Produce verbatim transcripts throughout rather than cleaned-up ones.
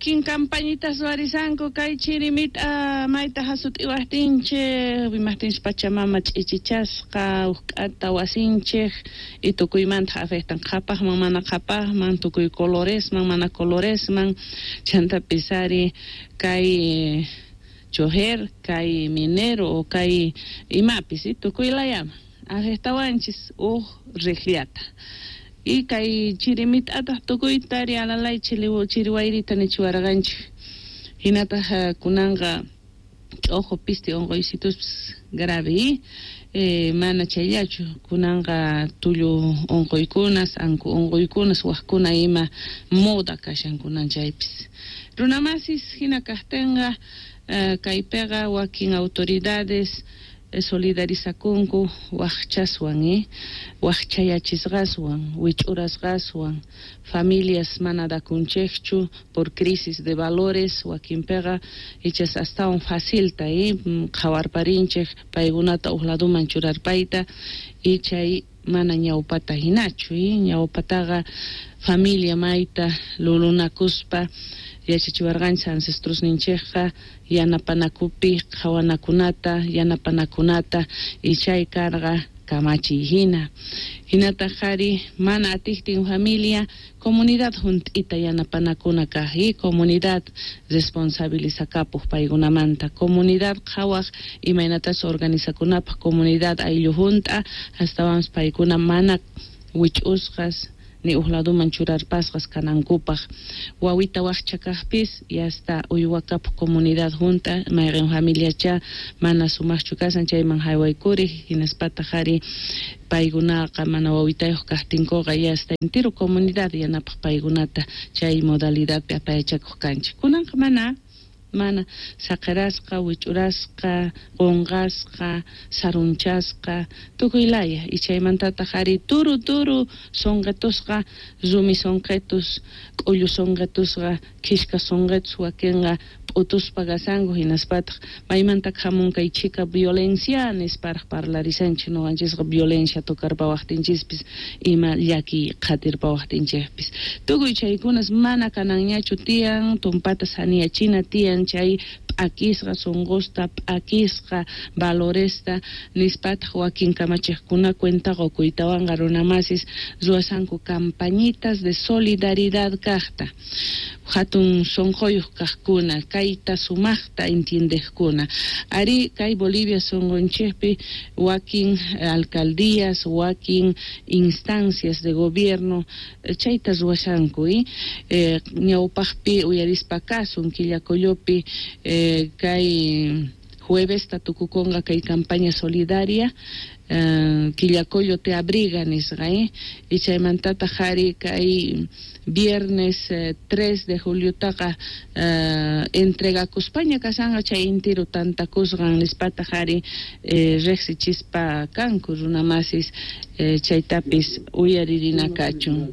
Wakin campañitas ruwarisanku kay chiri mit'a mayta hasut'iwaqtinchik, imaqtinchik Pachamama ch'ichichasqa, uqk'ata wasinchik y tukuymanta afectan qhapaqman mana qhapaqman, tukuy coloresman mana coloresman, chantapis ari kay chojer, kay minero o kay imapis tukuy layaman afectawanchis uq riqllata. Y kay chiri mit'ataq tukuyta ari alalay chiri wayrita nichiwarqanchik. Hinataq kunanqa ch'uqu piste unquysituspas grave, eh, mana chayllachu kunanqa tullu unquykunas, anku unquykunas, waqkuna ima moda kashan kunan chaypis. Runamasis hina kaqtinqa kaypiqa wakin autoridades solidarizakunku waqchaswan, eh, waqchayachisqaswan, wich'urasqaswan, familias mana dakunchikchu por crisis de valores, wakinpiqa ichas astawan facilta, eh, qhawarparinchik paykunata uq laduman churarpayta y chay mana ñawpata hinachu, eh, ñawpataqa familia mayta lulunakuspa yachachiwarqanchik ancestrosninchikqa yanapanakupi qhawanakunata, yanapanakunata y chay karqa kamachiy hina. Hinataq qhari mana atiqtin familia comunidad hunt'ita yanapanakuna kaq y comunidad responsabilizakapuq paykunamanta, comunidad qhawaq imaynatas organizakunapaq comunidad ayllu hunt'a astawanpas paykuna mana wich'usqas ni uq laduman churarpasqas kanankupaq. Wawita waqcha kaqpis y hasta uywakapuq comunidad hunt'a mayqin familiacha mana sumaqchu kasan chayman haywaykuriq hinaspataq ari paykunaqa mana wawitayuq kaqtinkuqa y hasta entero comunidad yanapaq paykunata chay modalidadpi apayachakuq kanchik. Kunanqa mana mana saqirasqa, wich'urasqa, qunqasqa, sarunchasqa, tukuy laya. Y chaymantataq ari turu turu sunqitusqa, rumi sunqitus, k'ullu sunqitusqa, khishka sunqitus wakinqa p'utuspa kasanku hinaspataq maymanta hamun kay chika violencia nisparaq parlarisanchik ñuqanchisqa violencia tocarpawaqtinchispis ima llaki qhatirpawaqtinchikpis. Tukuy chaykunas mana kananñachu tiyan, tumpata saniyachina tiyan chay p'akisqa sunqusta, p'akisqa valoresta nispataq wakin kamachiqkuna cuenta qukuytawanqa runamasis ruwasanku campañitas de solidaridad kaqta. Hatun sunquyuq kaqkuna, kayta sumaqta entiendeqkuna. Ari kay Bolivia sunqunchikpi wakin alcaldías, wakin instancias de gobierno chayta ruwashanku, eh, ñawpaqpi uyarispa kasun Quillacollopi eh, kay jueves tukukunqa kay campaña solidaria eh, Quillacollo te abriga nisqa, eh, y chaymantataq ari kay viernes eh, tres de juliotaqa eh, entregakuspaña kasanqa chay intiru tantakusqan nispataq ari eh, riqsichispa kanku runamasis eh, chaytapis uyaririna kachun.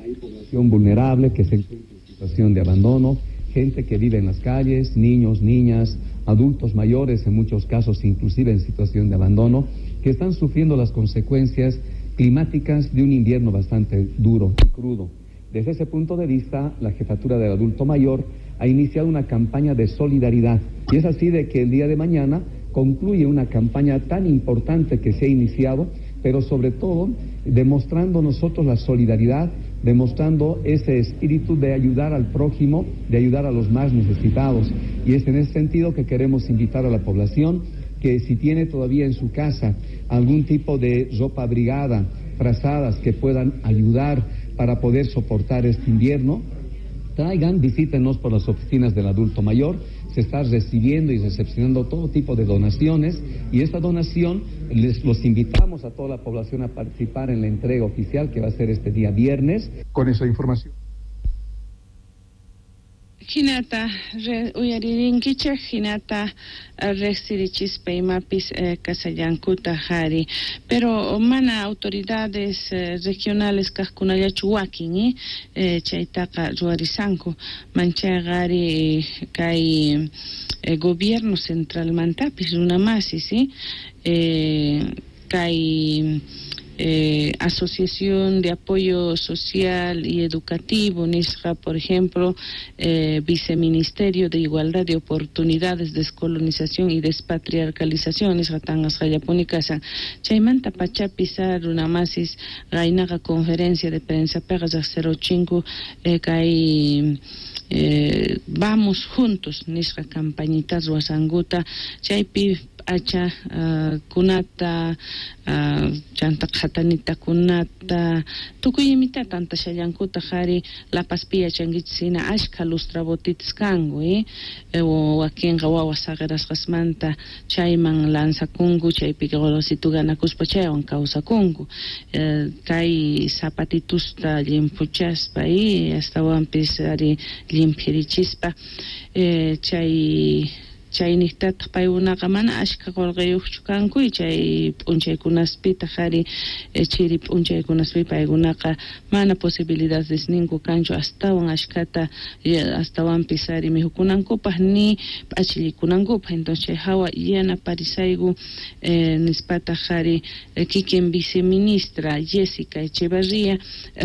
Hay población vulnerable que se encuentra en situación de abandono, gente que vive en las calles, niños, niñas, adultos mayores, en muchos casos inclusive en situación de abandono, que están sufriendo las consecuencias climáticas de un invierno bastante duro y crudo. Desde ese punto de vista, la Jefatura del Adulto Mayor ha iniciado una campaña de solidaridad. Y es así de que el día de mañana concluye una campaña tan importante que se ha iniciado, pero sobre todo demostrando nosotros la solidaridad, demostrando ese espíritu de ayudar al prójimo, de ayudar a los más necesitados. Y es en ese sentido que queremos invitar a la población que si tiene todavía en su casa algún tipo de ropa abrigada, frazadas que puedan ayudar para poder soportar este invierno, traigan, visítenos por las oficinas del adulto mayor. Se está recibiendo y recepcionando todo tipo de donaciones y esta donación les los invitamos a toda la población a participar en la entrega oficial que va a ser este día viernes. Con esa información. Hinata uyaririnkichik, hinata riqsirichispa imapis eh, kasallankuta hari. Pero mana autoridades eh, regionales kaqkunallachu wakin, eh, eh, chaytaqa ruwarisanku. Manchayqa ari kay eh, gobierno centralmantapis runamasis, eh, eh, kay eh, Asociación de Apoyo Social y Educativo nisqa, por ejemplo, eh, Viceministerio de Igualdad de Oportunidades, Descolonización y Despatriarcalización nisqa tanqasqallapuni kashan. Chaymanta pachapis runamasis qaynaqa conferencia de prensa piqa riqsirachinku eh, kay eh, Vamos Juntos nisqa campañita ruwasankuta, chaypi p'acha uh, kunata uh, chanta qhatanita kunata tukuy imita tantashallankuta qhari La Pazpi yachankichis hina ashkha lustrabotitas kanku eh? Wakinqa wawa saqirasqasmanta chayman lanzakunku, chaypi qolositu ganakuspa chaywan kawsakunku eh, kay zapatitusta llimpuchaspa eh, astawanpis ari llimphirichispa eh, chay chayniqtataq paykunaqa mana ashkha qullqiyuqchu kanku y chay p'unchaykunaspitaq ari chiri p'unchaykunaspi paykunaqa mana posibilidades ninku kanchu astawan ashkhata astawanpis ari mikhukunankupaq ni p'achillikunankupaq. Entonces chay hawa yanaparisayku eh, nispataq ari kikin viceministra Jessica Echevarría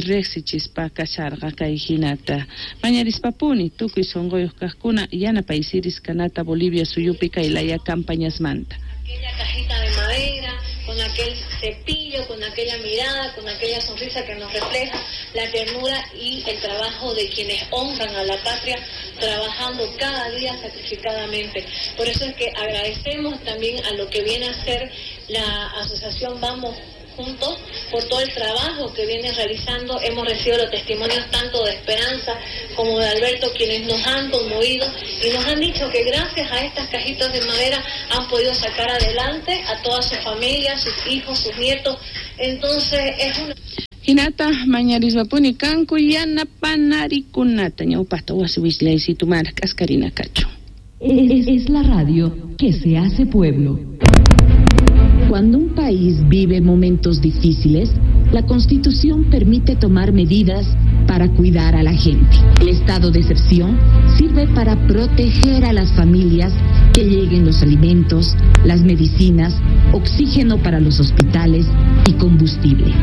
riqsichispa kasharqa kay hinata mañarispapuni tukuy sunquyuq kaqkuna yanapaysiris kanata Bolivia suyupi kay laya campañasmanta. Aquella cajita de madera, con aquel cepillo, con aquella mirada, con aquella sonrisa que nos refleja la ternura y el trabajo de quienes honran a la patria, trabajando cada día sacrificadamente. Por eso es que agradecemos también a lo que viene a ser la asociación Vamos Juntos por todo el trabajo que viene realizando. Hemos recibido los testimonios tanto de Esperanza como de Alberto, quienes nos han conmovido y nos han dicho que gracias a estas cajitas de madera han podido sacar adelante a toda su familia, sus hijos, sus nietos. Entonces es una... Hinata mañarismapuni kanku yanapanarikunata ñawpaqta wasi wislaysitumara k'askarina kachu. Es, es la radio que se hace pueblo. Cuando un país vive momentos difíciles, la Constitución permite tomar medidas para cuidar a la gente. El estado de excepción sirve para proteger a las familias, que lleguen los alimentos, las medicinas, oxígeno para los hospitales y combustible.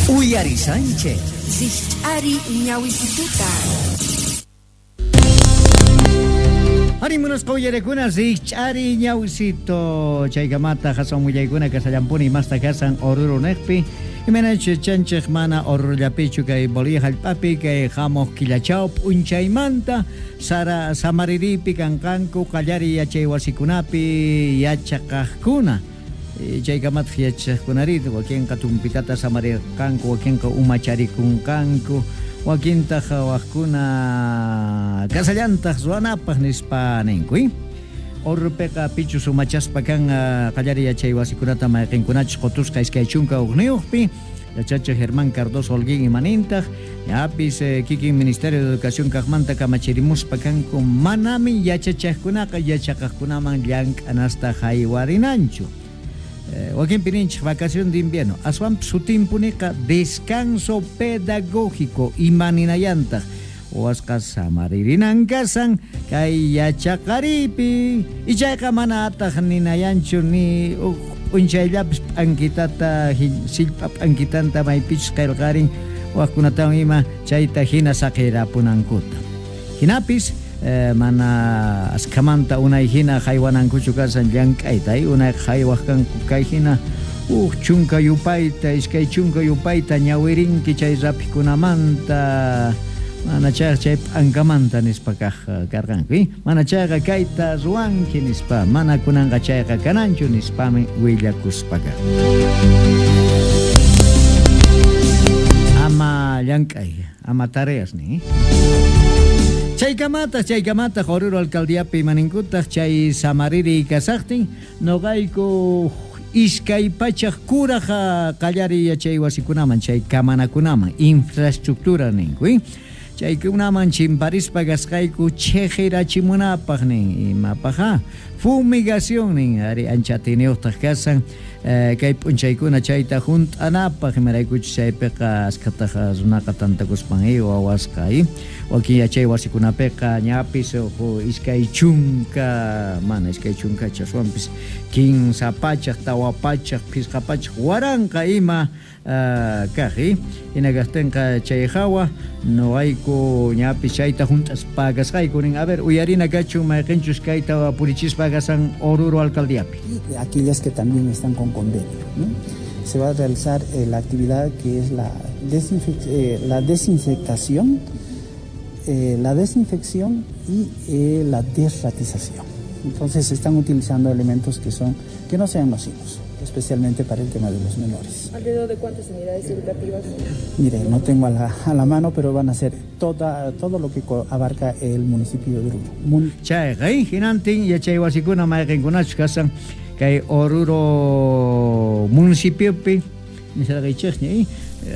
Uyari Sánchez. Ari ñawisituta. Arimunos qoyarekuna Ari ñawisito. Chaykamata hasan willaykuna kasallampuni masta kasan Oruro neqpi. Imaynachu chanchik mana Orurullapichu kay Bolivia hallp'api kay hamuq killachaw p'unchaymanta sara samariripi kanqanku qallari yachay wasikunapi yachaqaqkuna. Chaykamataq yachaqkunarita wakinqa tumpitata samarirqanku, wakinqa umacharikunqanku, wakintaq waqkuna kasallantaq ruwanapaq nispa ninku. Orurupiqa pichus umachaspa kan qallari yachay wasikunata mayqinkunachus qutusqa iskay chunka hukniyuqpi yachachiq Germán Cardoso Holguín imanintaq ñapis eh, kikin Ministerio de Educación kaqmanta kamachirimuspa kanku manami yachachaqkunaqa yachaqaqkunaman llank'anasta haywarinanchu. Eh, wakinpi ninchik vacación de invierno aswan sutimpuniqa descanso pedagógico imaninayantaq wasqa samaririnan kasan kay yachaqaripi ichayqa mana ataq ninayanchu ni uq p'unchayllapis p'ankitata sillpa p'ankitanta maypichus qillqarin waqkunatawan ima chayta hina saqirapunankuta hinapis Eh, mana askhamanta unay hina haywanankuchu kasan llank'ayta unay haywaq kanku kay hina uq chunka yupayta iskay chunka yupayta ñawirinki chay raphikunamanta mana chayqa chay p'ankamanta nispa kaq karqanku mana chayqa kayta ruwanki nispa mana kunanqa chayqa kananchu nispami willakuspaqa ama llank'ay ama tareas ni. Chaykamataq chaykamataq Oruro alcaldiapi imaninkutaq chay samariri kasaqtin noqayku iskay pachaq kuraq qallari yachay wasikunaman chay kamanakunaman infraestructura ninku chaykunaman chimparispa kasqayku chejirachimunapaq nin imapaqa Fumigación nin ari ancha atiyniyuqtaq kasan kay p'unchaykuna chayta hunt'anapaq imaraykuchus chaypiqa askhataq runaqa tantakuspan wawasqa wakin yachay wasikunapiqa ñapis iskay chunka mana iskay chunkachu aswanpis kinsa pachaq tawa pachaq phisqa pachaq waranqa ima kaq hina kaqtinqa chay hawa noqayku ñapis chayta hunt'aspa kasqayku nin. A ver, uyarina kachun mayqinchus kayta purichispa kasan Oruro alcaldíapi. Aquellas que también están con convenio, ¿no? Se va a realizar eh, la actividad que es la, desinfec eh, la desinfectación, eh, la desinfección y eh, la desratización. Entonces se están utilizando elementos que son que no sean nocivos, especialmente para el tema de los menores. ¿Alrededor de cuántas unidades educativas? Mire, no tengo a la, a la mano, pero van a ser toda, todo lo que abarca el municipio de Oruro. Mun Chayqa, hinantin yachay wasikuna mayqinkunachus kasan kay Oruro municipiopi nisarqaychikña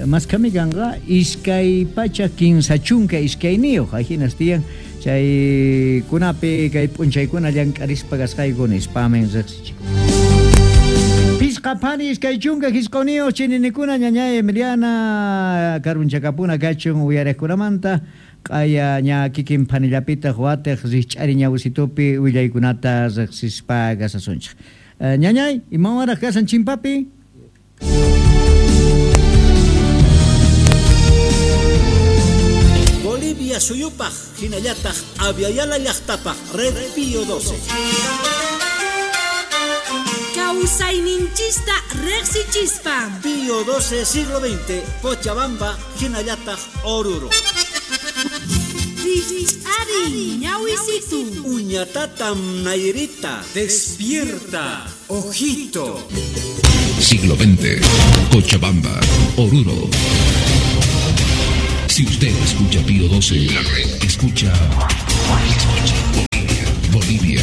maskami kanqa iskay pacha kinsa chunka iskayniyuq ahinas tiyan chaykunapi kay p'unchaykuna llank'arispa kasqayku nispamin riqsichikun. Pisqa phani iskay chunka hisquniyuq chininikuna ñañay Emiliana karunchakapuna kachun uyariqkunamanta q'aya ña kikin phanillapitaq watiq rikch'ari ñawisitupi willaykunata riqsispa kasasunchik. Ñañay, imawanraq kasan chimpapi? Bolivia suyupaq hinallataq Aviala llaqtapaq Red Pío doce. Kawsayninchista riqsichispa. Pío doce siglo veinte, Cochabamba, hinallataq Oruro. Rikch'ari ñawisitu. Uñatatam Nairita. Despierta, ojito. Siglo veinte, Cochabamba, Oruro. Si usted escucha Pío doce, la red escucha, escucha Bolivia, Bolivia.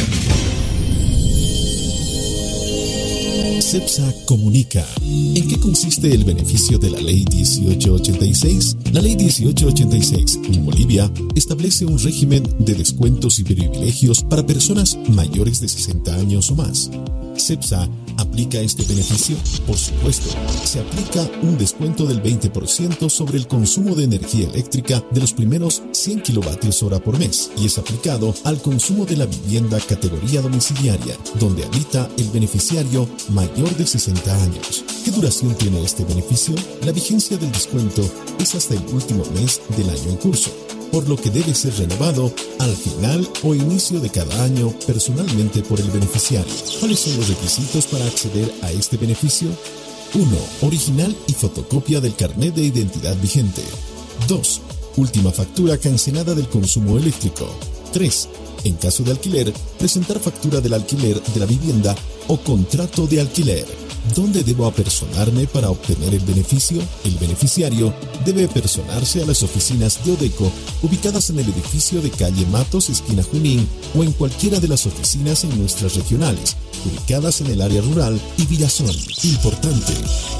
CEPSA comunica. ¿En qué consiste el beneficio de la Ley dieciocho ochenta y seis? La Ley dieciocho ochenta y seis en Bolivia establece un régimen de descuentos y privilegios para personas mayores de sesenta años o más. ¿CEPSA aplica este beneficio? Por supuesto, se aplica un descuento del veinte por ciento sobre el consumo de energía eléctrica de los primeros cien kilovatios hora por mes y es aplicado al consumo de la vivienda categoría domiciliaria, donde habita el beneficiario mayor de sesenta años. ¿Qué duración tiene este beneficio? La vigencia del descuento es hasta el último mes del año en curso, por lo que debe ser renovado al final o inicio de cada año personalmente por el beneficiario. ¿Cuáles son los requisitos para acceder a este beneficio? uno. Original y fotocopia del carnet de identidad vigente. dos. Última factura cancelada del consumo eléctrico. tres. En caso de alquiler, presentar factura del alquiler de la vivienda o contrato de alquiler. ¿Dónde debo apersonarme para obtener el beneficio? El beneficiario debe apersonarse a las oficinas de Odeco, ubicadas en el edificio de calle Matos, esquina Junín, o en cualquiera de las oficinas en nuestras regionales, ubicadas en el área rural y Villazón. Importante,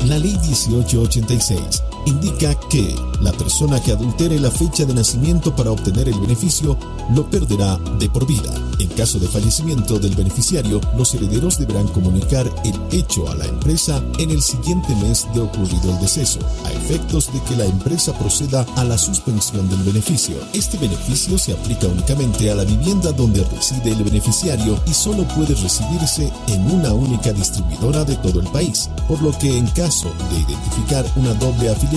la Ley dieciocho ochenta y seis indica que la persona que adultere la fecha de nacimiento para obtener el beneficio lo perderá de por vida. En caso de fallecimiento del beneficiario, los herederos deberán comunicar el hecho a la empresa en el siguiente mes de ocurrido el deceso, a efectos de que la empresa proceda a la suspensión del beneficio. Este beneficio se aplica únicamente a la vivienda donde reside el beneficiario y solo puede recibirse en una única distribuidora de todo el país, por lo que en caso de identificar una doble afiliación,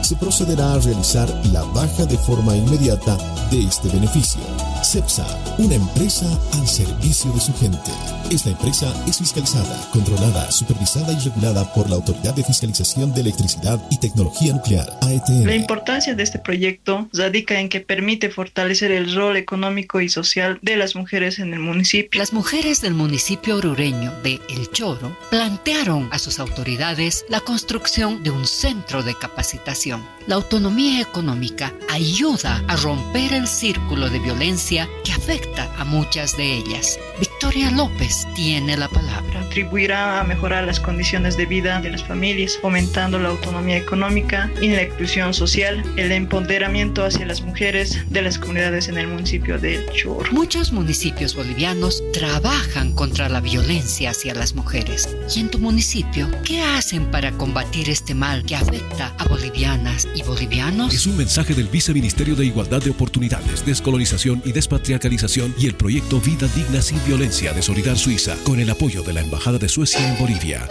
se procederá a realizar la baja de forma inmediata de este beneficio. CEPSA, una empresa al servicio de su gente. Esta empresa es fiscalizada, controlada, supervisada y regulada por la Autoridad de Fiscalización de Electricidad y Tecnología Nuclear, A E T N. La importancia de este proyecto radica en que permite fortalecer el rol económico y social de las mujeres en el municipio. Las mujeres del municipio orureño de El Choro plantearon a sus autoridades la construcción de un centro de capacitación. La autonomía económica ayuda a romper el círculo de violencia violencia que afecta a muchas de ellas. Victoria López tiene la palabra. Contribuirá a mejorar las condiciones de vida de las familias, fomentando la autonomía económica y la inclusión social, el empoderamiento hacia las mujeres de las comunidades en el municipio de El Choro. Muchos municipios bolivianos trabajan contra la violencia hacia las mujeres. ¿Y en tu municipio qué hacen para combatir este mal que afecta a bolivianas y bolivianos? Es un mensaje del Viceministerio de Igualdad de Oportunidades, Descolonización y Despatriarcalización y el proyecto Vida Digna sin Violencia de Solidar Suiza, con el apoyo de la Embajada de Suecia en Bolivia.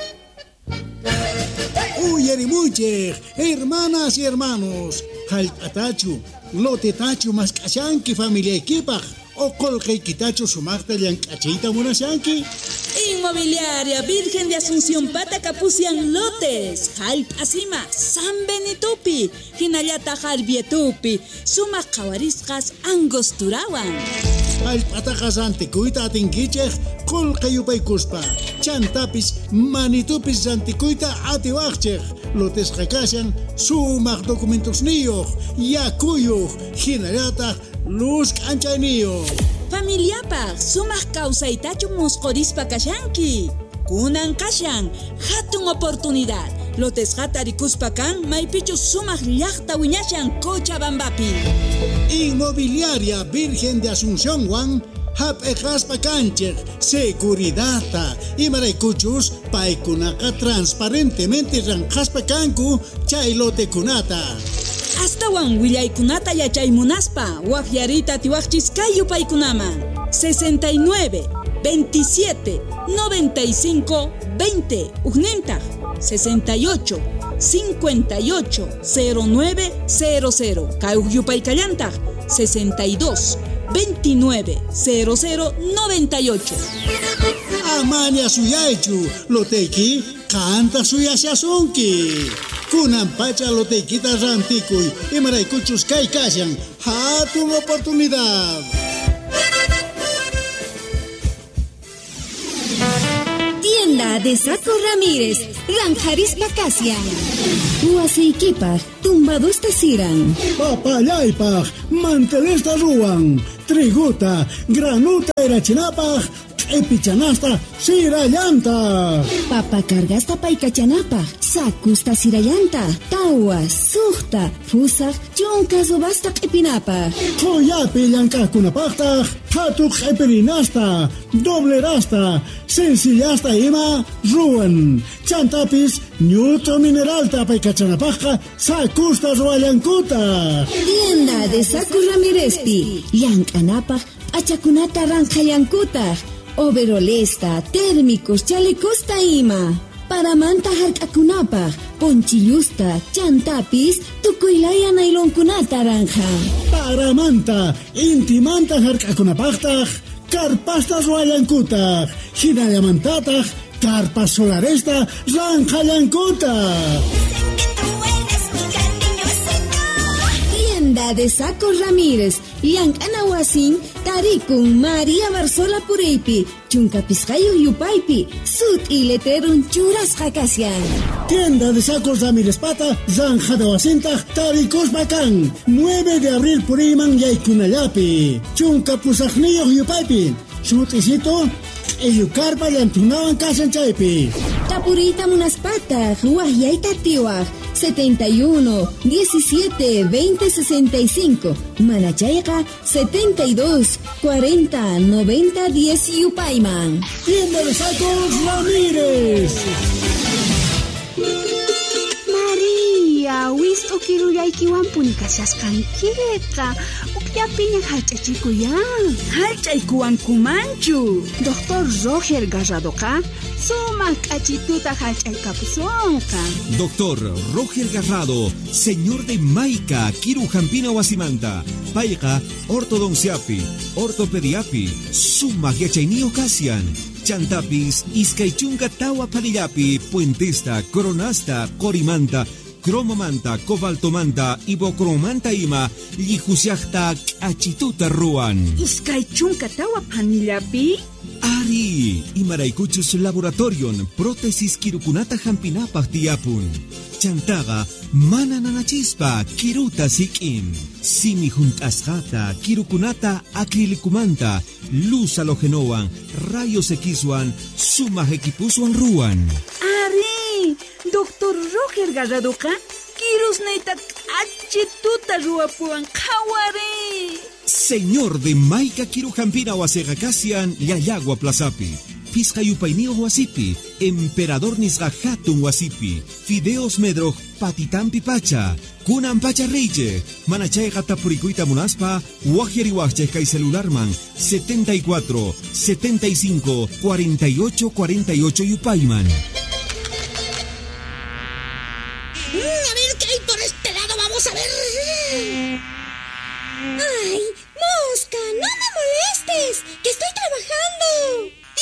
Uyarimuchej, hermanas y hermanos, jallp'atachu, lotetachu mask'ashanki familiaykipaq, o qolqaykitachu sumaqta llank'achiyta munashanki. Inmobiliaria Virgen de Asunción Pata Capucian Lotes, Jallp'asima, San Benitupi, hinallata Jarbietupi, sumaq qhawarisqas Angosturawan. Jallp'ataqa rantikuyta atinkichej qolqe yupaykuspa, chantapis manitupis rantikuyta atiwaqchej, lotesqa kashan sumaq documentosniyuq, yakuyuq, hinallataq luz k'anchayniyuq. Familiapaq sumaq kawsaytachu musqhurispa kashanki. Kunan kashan hatun oportunidad. Lotesqata rikuspa kan maypichu sumaq llaqta wiñashan Cochabambapi. Inmobiliaria Virgen de Asunción Juan hap'eqaspa kanchej seguridadta imaraykuchus paykunaqa transparentemente ranqaspa kanku chay lotekunata. Astawan willaykunata yachaymunaspa waqyariyta atiwaqchis kay yupaykunaman sesenta y nueve, veintisiete, noventa y cinco, veinte, ujnintaq sesenta y ocho, cincuenta y ocho, cero nueve, cero cero, kay uj yupaykallantaq sesenta y dos, veintinueve, cero cero, noventa y ocho. Amaña suyaychu, loteyki qanta suyashasunki. Kunan pacha loteykita rantikuy, imaraykuchus kay kashan, hatun oportunidad. Tienda de Saco Ramírez, Ranjarispa Kasian. Wasiykipaq, tumbadusta siran. Papallaypaq, mantelesta ruwan. Triguta, granuta erachinapaq, q'ipichanasta sirallanta. Papa cargasta paykachanapaq, sakusta sirallanta, tawa, suqta, fusaq, chunka subasta q'ipinapaq. Qhuyapi llank'aqkunapaqtaq, qhatu q'ipirinasta, doblerasta, sencillasta ima ruwan. Chantapis ñut'u mineralta paykachanapaqqa sakusta ruwallankutaq. Tienda de Saco Ramírezpi, llank'anapaq p'achakunata ranqhallankutaq. Overolesta, térmicos, chalecosta ima. Paramanta hark'akunapaq, ponchillusta, chantapis, tukuylaya nailonkunata ranja. Paramanta, intimanta hark'akunapaqtaq, karpasta ruwallankutaq, hinallamantataq, karpas solaresta ranqhallankutaq. Tienda de Saco Ramírez, llank'ana wasin, tarikun María Barzola Pureypi, chunka pisqayuq yupaypi, sut'i letrerun churasqa kashan. Tienda de Sacos Ramírez Pata, zanjada wasintaq, tarikuspa kan, nueve de abril puriyman yaykunallapi, chunka pusaqniyuq yupaypi, sut'isito, q'illukarpa llantunawan kashan chaypi. Tapuriyta munaspataq, waqyayta atiwaq, setenta y uno, diecisiete, veinte, sesenta y cinco, Manachayqa, setenta y dos, cuarenta, noventa, diez yupayman. Tienda de Sacos Ramírez. María, wist'u kirullaykiwanpuni kashasqankiqa, ukllapiña hallch'achikuyan. Hallch'aykuwankumanchu. Doctor Roger Garradoqa sumaq k'achituta hallch'aykapusunqa. Doctor Roger Garrado, señor de Maica, Kirujampina wasimanta, payqa ortodonciapi, ortopediapi, sumaq yachayniyuq kashan. Chantapis, iskay chunka tawa panillapi, puentesta, coronasta, qorimanta, cromomanta, cobaltomanta, ibocromanta ima, llihusiaqta k'achituta ruwan. Iskay chunka tawa panillapi? Ari, Imaraykuchus laboratorion prótesis kirukunata hampinapaq tiyapun. Chantaqa mana nanachispa kiruta sik'in. Simi hunt'asqata kirukunata acrilicumanta luz halogenowan rayos Xwan sumaq equipuswan ruwan. Ari, doctor Roger Garradoqa kirusniyta k'achituta ruwapuwan qhawari. Señor de Maica Kiru Hampina wasiqa kashan Llallagua Plazapi. Pisqa yupayniyuq wasipi, Emperador nisqa hatun wasipi, Fideos Medroj patitampi pacha, kunan pacha reyche, mana chayqa tapurikuyta munaspa, waqyariwaqchik kay celularman setenta y cuatro, setenta y cinco, cuarenta y ocho, cuarenta y ocho yupayman. Mm, a ver qué hay por este lado, vamos a ver. Ay,